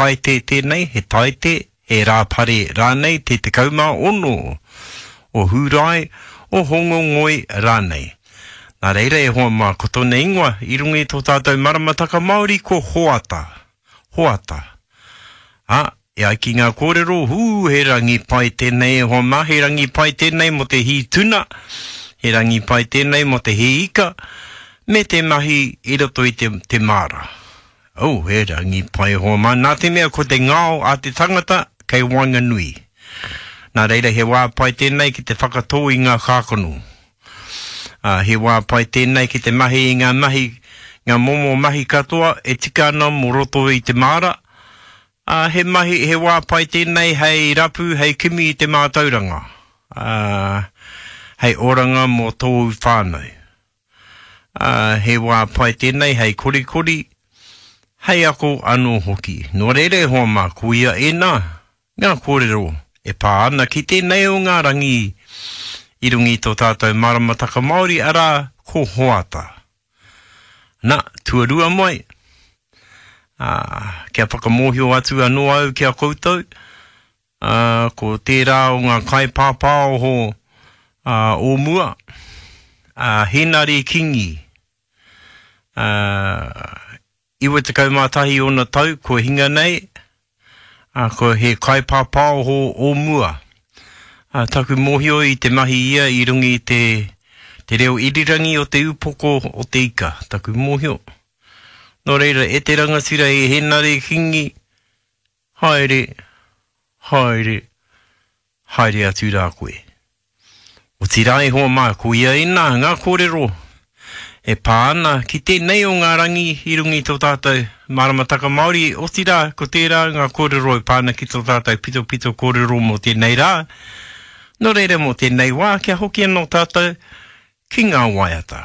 Taite tēnei, he Taite, he Rāpare rānei, te 16 o Hūrae, o Hōngongoi rānei. Nā reira e hoa mā, ko tōna ingoa i runga i tō tātou maramataka Māori ko Hoata. Hoata. Ā, e ai ki ngā kōrero, hū, he rangi pai tēnei e hoa mā, he rangi pai tēnei mō te hī tuna, he rangi pai tēnei mō te hī ika, me te mahi i roto i te, te māra. Oh, he rangi pai e hoa mā, nā te mea ko te ngao a te tangata kei waenganui. Nā reira he wā pai tēnei ki te whakatō i ngā kākano. Ā, he wā pai tēnei ki te mahi i ngā mahi, ngā momo mahi katoa e tika ana mō roto i te māra, ā, he mahi, he wā pai tēnei hei rapu, hei kimi i te mātauranga, ā, hei oranga mō tōu whānau. Ā, he wā pai tēnei hei korikori, hei ako anō hoki. Nō reira e hoa mā, koia ēnā, Ngā kōrero e pā ana ki tēnei o ngā rangi i runga i tō tātou maramataka Māori, arā, ko Hoata. Na, tuarua mai, ā, kia whakamōhio atu anō au ki a koutou, ā, ko tērā o ngā kaipāpāoho, ā, o mua, ā, Hēnare Kingi, ā, 91 ōna tau kua hinga nei, ā, ko he kaipāpāoho o mua. Ā, taku mōhio i te mahi ia i runga i te, te reo irirangi o te upoko o te ika, taku mōhio. Nō reira, e te rangatira e Hēnare Kingi, haere, haere, haere atu rā koe. Otirā e hoa mā, koia ēnā ngā kōrero e pā ana ki tēnei o ngā rangi i runga i tō tātou maramataka Māori, otirā ko tērā ngā kōrero e pā ana ki tō tātou pitopito kōrero mō tēnei rā. Nō reira mō tēnei wā kia hoki anō tātou ki ngā waiata.